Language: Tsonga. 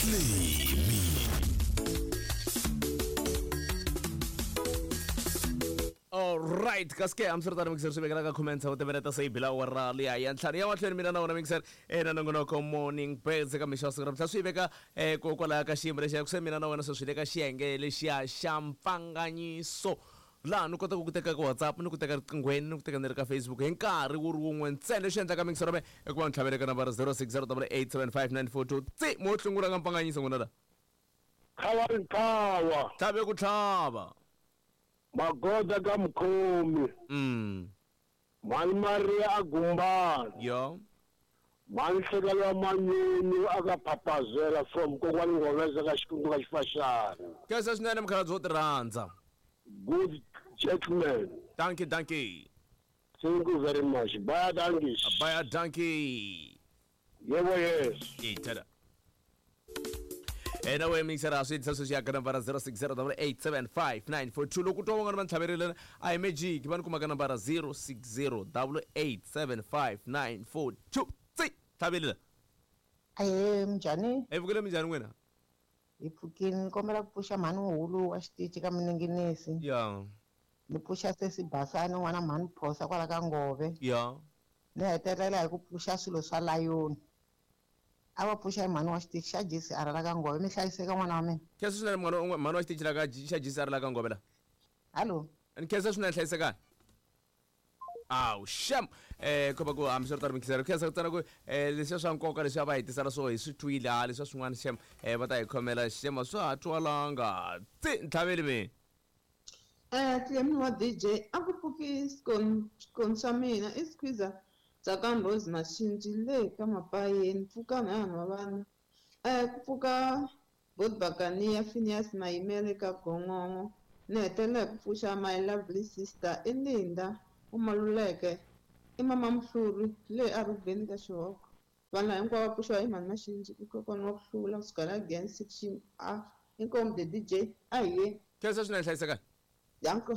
Tlemi. Alright, kasi ke hambiswiritano mixer swi vekela ka comments wu tiveleta se yi bila awara liya ya ntlhanu ya mahlweni mina na wona mixer eh, na nongonoko morning birds eka mixo wa siku ra mhla swi veka eh, kokwalaya ka xiyimo lexiya ku se mina na wena se swi le ka xiyenge lexiya xa mpfanganyiso laha ni kotaka ku teka ka whatsapp ni ku teka riqinghweni ni ku teka ni ri ka facebook hi nkarhi wu ri wun'we ntsena lexi endlaka mixer me i ku va ni tlhavele ka nambara 0608875942 tsi mo hlungula ka mpfanganyiso n'wina la Khawa ntlawa tlhave ku tlhava magoda ka mukhomi mhani Maria a Gumbani yo mhani Hlekelo wa Manyunyu aka Phapazela from kokwani Nghoveza ka Xikundu ka Xifaxana. Khensa swinene mukhalabye wo tirhandza. Good gentleman. Dankie, dankie. Thank you very much. Baie dankie. Baie dankie. Yebo yes. Itela. Ena we mixer a swi endlisa sweswi ya ka nambara 0608875942 loko twa van'wana va ni tlhaverile a hi magic va ni kuma ka nambara 0608875942 tsi tlhaverile Ahee, minjhani? Hi pfukile minjhani n'wina? Hi pfukile ni kombela ku pfuxa mhani Muhulu wa xitichi ka Mininginisi. Ya. Ni pfuxa sesi Basani n'wana mhani Phosa kwala ka Ngove. Ya. Ni hetelela hi ku pfuxa swilo swa layoni. A va pfuxa hi mhani wa xitichi xa GCR la ka Ngove. Mi hlayiseka n'wana wa mina. Khensa swinene mhani mhani wa xitichi la ka xa GCR la ka Ngove la. Hallo. Ni khensa swinene hlayisekani. Awu xem eh ko va ku hambiswiritano mikisero khensa ku tsana ku eh leswiya swa nkoka leswiya va hi tisela swo hi swi twile ha leswiya swin'wana xem eh va ta hi khomela xem a swa ha twalanga tsi ntlhaveli mi Eh, Clem wa DJ, a ku pfuki swikoni swa mina i squeezer Tsakani Rose Mashinji le ka Mapayeni pfukani ha nwa vana eh ku pfuka Bot Bakania Phineas Mayimele ka Gongongo ni hetelela hi ku pfuxa my lovely sister i Linda u Maluleke i mama Mhluri le a Rubeni ka Xihoko Vanhu lava hinkwavo va pfuxiwa hi mhani Maxinji i kokwana wa ku hlula kusuka la Giyani section A. Inkomu the DJ a hi yeni. Khensa swinene hlayisekani. Danko.